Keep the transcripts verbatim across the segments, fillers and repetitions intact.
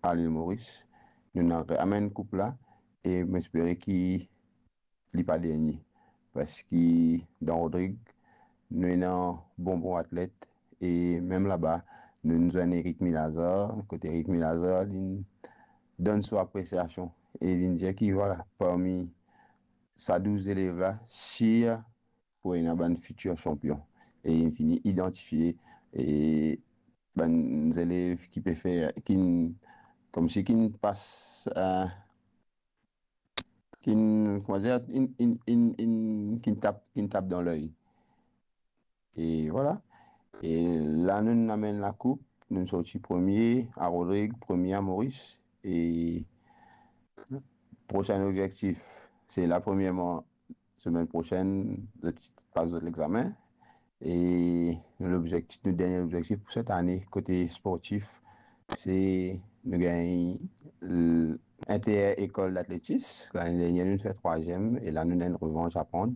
a Lil Moris. Nou ena amenn koup la e mo espere ki li pa dernie, parski dan Rodrig nou ena bon bon atlet e mem laba nou zwenn Eric Milazar, kot Eric Milazar li donn so apresiasion e li dir ki vwala, parmi sa douz zelev la, sir pou ena bann fitir sanpion. E li fini idantifie e bann zelev ki pe fer, ki, koumsi ki pas, eh, ki, kouma dir, in, in, in, in, ki tap, ki tap dan ley. E vwala. E la nou amenn lakoup, nou sorti premie a Rodrig, premie a Moris. E prosin obzektif, se la premierman, semenn prosenn, zot pas zot lexame. E lobzektif, nou dernie lobzektif pou set ane kote sportif, se nou gagn l-, inter-ekol datletis. Lane dernier nou fer trwaziem e la nou ena enn revanz a pran.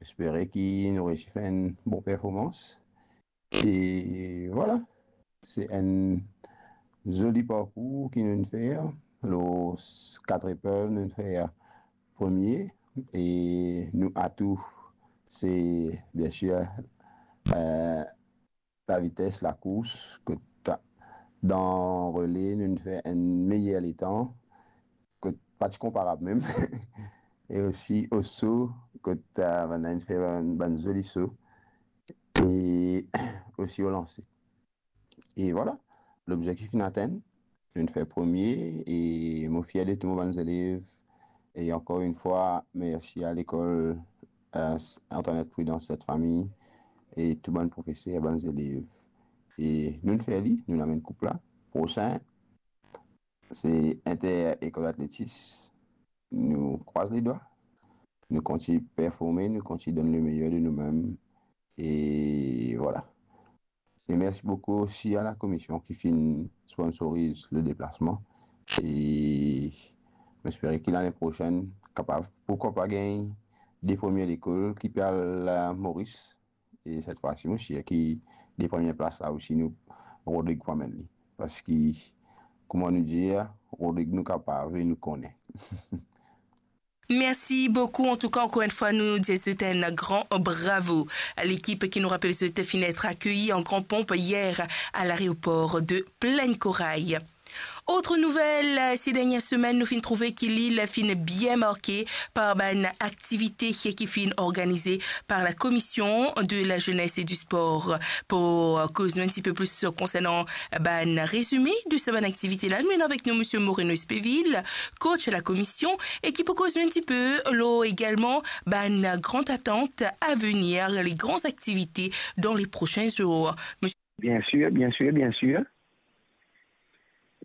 Espere ki nou resi fer enn bon performans. E vwala, se enn zoli parkour ki nou fer. Lor s-, kat eprev, nou fer premie. E nou atou, se, biensir, eh, lavites, lakours, kot dan rele, nou fer enn meyer letan, kot pa ti konparab mem. E osi o so, kot, eh, bann fer bann, bann zoli so. E osi o lanse. E vwala, lobzektif inn atenn, nou fer premie e mo fier de tou mo bann zelev. E ankor enn fwa, mersi a lekol, eh, Antoinette Prudence, Sainte Famille, e tou bann profeser, bann zelev. E nou fer li, nou amenn koup la. Prosin, se inter-ekol datletis. Nou krwaz ledwa. Nou kontign performe, nou kontign donn lemeyer de noumem. E vwala. E mersi boukou osi a lakomision ki finn sponsoriz le deplasman. E mo espere ki lane prosenn, kapav, pourkwa pa, gagn de premie lekol ki pe al, eh, Moris. E set fwa si, mo sir ki de premie plas la osi, nou, Rodrig pou amenn li. Parski, kouma nou dir, Rodrig nou kapav e nou kone. Mersi boukou. Antouka, ankor enn fwa, nou dir zot enn gran bravo. Lekip ki, nou rapel zot, finn et akeyi an gran ponp yer a laeropor de Plaine Corail. Autre nouvelle, ces dernières semaines, nou finn trouve ki Lil finn bien marke par bann aktivite ki finn organize par la Commission de la Jeunesse et du Sport. Pou koz nou enn tipe plis konsernan bann rezime de sa bann aktivite la, nou ena avek nou Misie Moreno Espevil, coach la komision, e ki pou koz nou enn tipe lor egalman bann gran atant a venir, les grandes activités dans les prochains jours. Misie... Bien sir, bien sir, bien sir.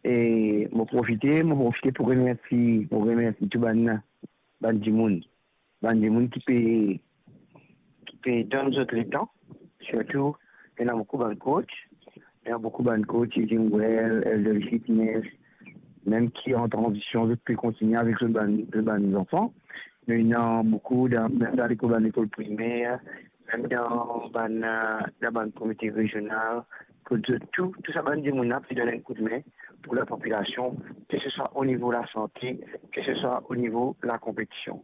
E mo profite, mo profite pou remersi, pou remersi tou bann, bann dimoun, bann dimoun ki pe, ki pe donn zot letan, sirtou ena boukou bann coach, ena boukou bann coach, Jim Well, Elder Fitness, mem ki an tranzision, zot pe kontigne avek zot bann, zot bann zanfan. Nou ena boukou dan, mem dan lekol, bann lekol primer, mem dan bann, eh, dan bann komite rezional, kot zot tou, tou sa bann dimoun la pe donn enn koudme pou lapopilasion, ke se swa o nivo lasante, ke se swa o nivo lakonpetision.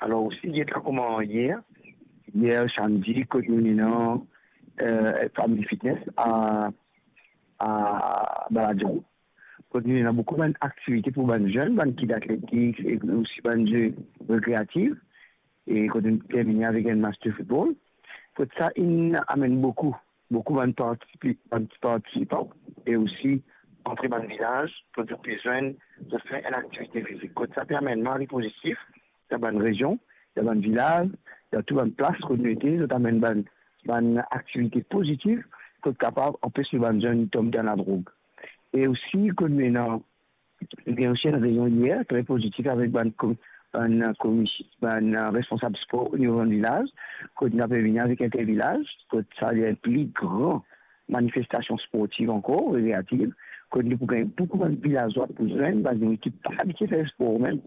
Alor osi, get la kouma yer, yer samdi, kot nou ena, eh, Family Fitness a, a Baladron. Kot nou ena boukou bann aktivite pou bann zenn, bann kit atletik e osi bann ze rekreatif. E kot nou termine avek enn match de football. Kot sa inn amenn boukou, boukou bann partisipi-, bann partisipan e osi antre bann vilaz, kot zot pe zwenn, zot fer enn aktivite fizik. Kot sa pe amenn mari pozitif dan bann rezion, dan bann vilaz, dan tou bann plas kot nou ete, zot amenn bann, bann aktivite pozitif, kot kapav anpes nou bann zenn tom dan ladrog. E osi, kot nou ena Li gagn osi enn rezion yer, tre pozitif, avek bann kom-, bann, eh, komis-, bann, eh, responsab spor o nivo bann vilaz, kot nou pe vini avek Intervilaz, kot sa li enn pli gran manifestasion sportiv ankor, rekreativ, kot nou pou gagn boukou bann vilazwa pou zwenn, bann dimoun ki pa abitie fer spor mem,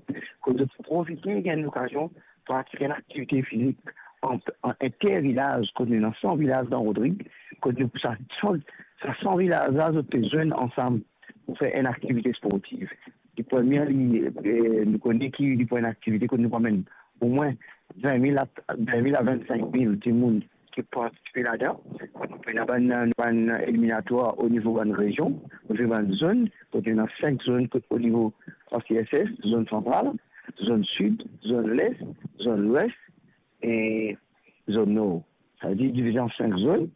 kot zot pou profite gagn lokazion pratik enn aktivite fizik an, an intervilaz, kot nou ena san vilaz dan Rodrig, kot nou pou sa san, sa san vilaz la, zot pe zwenn ansam pou fer enn aktivite sportiv. Li pou enn, li, eh, nou kone ki li pou enn aktivite kot nou pou amenn omwin vin mil a, vin mil a vinn-sink mil dimoun ki partisipe ladan. Kot nou pou ena bann, bann eliminatwar o nivo bann rezion, o nivo bann zone, kot ena sink zone kot o nivo A C S S, zone santral, zone sid, zone les, zone lwes e zone nor. Savedir divize an sink zone,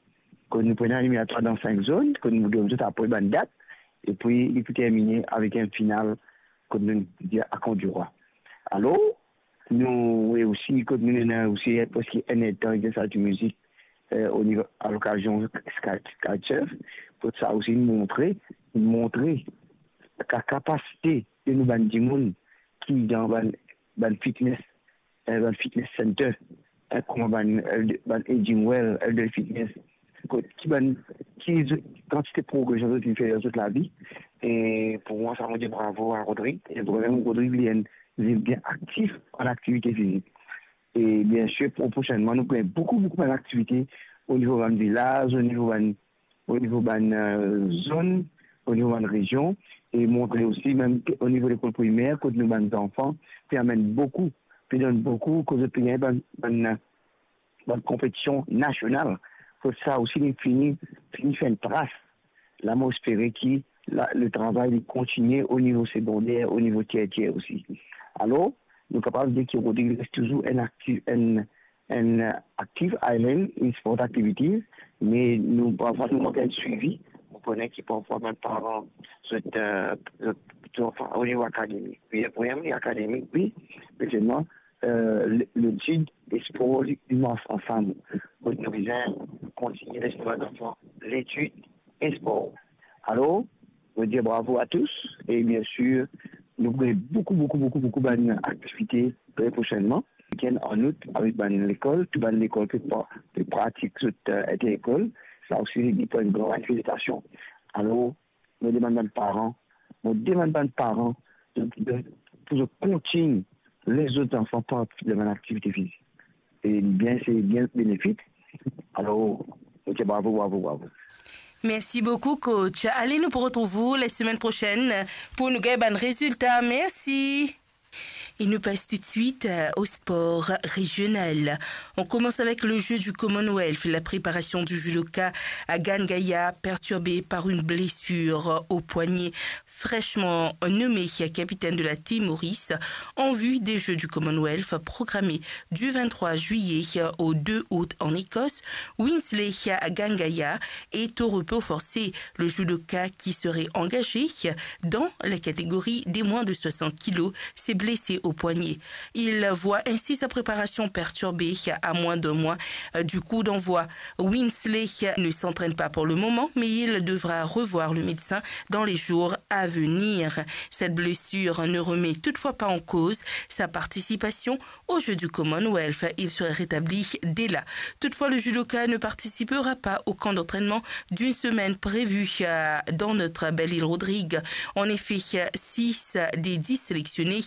kot nou pou ena eliminatwar dan sink zone, kot nou donn zot apre bann dat, epi li pou termine avek enn final kot nou dir Akon di Rwa. Alor, nou, e osi, kot nou ena osi preske enn erdtan exercice mizik, eh, o nivo, a lokazion Sky, Sky Surf, kot sa osi montre, montre ka-, kapasite de nou bann dimoun ki dan bann, bann fitness, eh, bann fitness center, eh, kouma bann, eh, bann Aging Well, Elder Fitness, kot ki bann, ki z-, kantite progresion zot inn fer dan zot lavi. E pou mwa, sa mo dir bravo a Rodrigue. E vremem, Rodrigue, li enn, li bien aktif an aktivite fizik. E biensir, pro-, prosenman, nou pou gagn boukou, boukou bann aktivite o nivo bann vilaz, o nivo bann, o nivo bann, eh, zone, o nivo bann rezion, e montre osi mem o nivo lekol primer, kot nou bann zanfan pe amenn boukou, pe donn boukou, kot zot pe gagn bann, bann, bann konpetision nasional. Kot sa osi, li fini, fini fer enn tras. La, mo espere ki la, le travay li kontinie o nivo segonder, o nivo tertier osi. Alor, nou kapav dir ki Rodrigue res touzour enn aktiv, enn, enn Active Island in Sport Activities, me nou, parfwa, nou mank enn swivi. Mo kone ki parfwa bann paran, zot, eh, zot, zot, anfin, o nivo akademik. Wi, vremem, li akademik, wi, me selman, eh, le, letid e spor, li, li mars ansam. Kot nou bizin kontinie les nou bann zanfan letid e spor. Alor, mo dir bravo a tous, e biensir, nou pou gagn boukou, boukou, boukou, boukou bann aktivite tre prosenman. Weekend an out avek bann lekol, tou bann lekol pe pra-, pe pratik zot, eh, inter-lekol. Sa osi, li pou enn gran manifestasion. Alor, mo demann bann paran, mo demann bann paran, zot, zot, pou zot kontign les zot zanfan partisip dan bann aktivite fizik. E bien, se bien benefik. Alor, mo dir bravo, bravo, bravo. Merci beaucoup, coach. Allez, nous retrouvons la semaine prochaine pour nous gagner un résultat. Merci. Et nous passons tout de suite, euh, au sport régional. On commence avec le jeu du Commonwealth. La préparation du judoka Agan Gaya, perturbée par une blessure au poignet, fraîchement nommé capitaine de la Team Maurice en vue des Jeux du Commonwealth programmés du vingt-trois juillet au deux août en Écosse. Winsley Agan Gaya est au repos forcé. Le judoka qui serait engagé dans la catégorie des moins de soixante kilos s'est blessé au poignet. Il voit ainsi sa préparation perturbée à moins d'un mois, euh, du coup d'envoi. Winsley ne s'entraîne pas pour le moment, mais il devra revoir le médecin dans les jours à venir. Cette blessure ne remet toutefois pas en cause sa participation aux Jeux du Commonwealth. Il serait rétabli dès là. Toutefois, le judoka ne participera pas au camp d'entraînement d'une semaine prévu, euh, dans notre belle île Rodrigue. En effet, six des dix sélectionnés,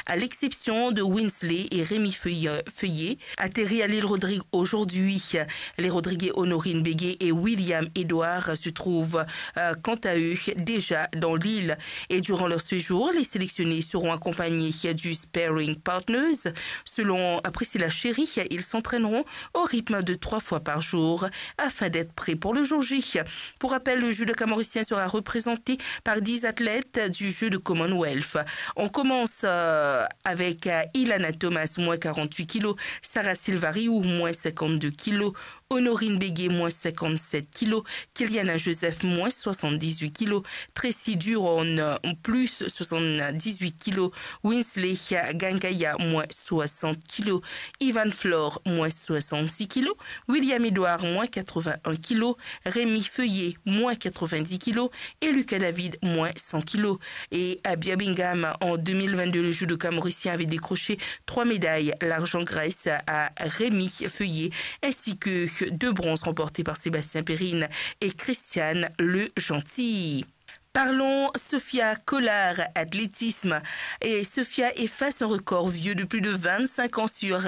à l'exception de Winsley et Rémi Feuille-, Feuillet, atterrit à l'île Rodrigue aujourd'hui. Les Rodriguais Honorine Béguet et William Edouard se trouvent, euh, quant à eux, déjà dans l'île. Et durant leur séjour, les sélectionnés seront accompagnés du sparring partners. Selon Priscilla Chéry, ils s'entraîneront au rythme de trois fois par jour afin d'être prêts pour le jour J. Pour rappel, le judoka mauricien sera représenté par dix athlètes du jeu de Commonwealth. On commence, euh, avec, euh, Ilana Thomas, moins quarante-huit kilos, Sarah Silvariou, moins cinquante-deux kilos, Honorine Béguet, moins cinquante-sept kilos, Kiliana Joseph, moins soixante-dix-huit kilos, Tracy Duron, euh, plus soixante-dix-huit kilos, Winsley Gangaya, moins soixante kilos, Ivan Flore, moins soixante-six kilos, William Edouard, moins quatre-vingt-un kilos, Rémi Feuillet, moins quatre-vingt-dix kilos et Lucas David, moins cent kilos. Et à Birmingham, en deux mille vingt-deux, le judoka mauricien avait décroché trois médailles, l'argent grâce à Rémi Feuillet, ainsi que deux bronzes remportées par Sébastien Perrine et Christiane Le Gentil. Parlons Sofia Collard, athlétisme. Et Sofia efface un record vieux de plus de vingt-cinq ans sur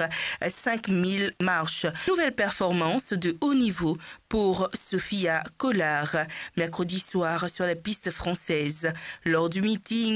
cinq mille marches. Nouvelle performance de haut niveau pour Sofia Collard, mercredi soir sur la piste française. Lors du meeting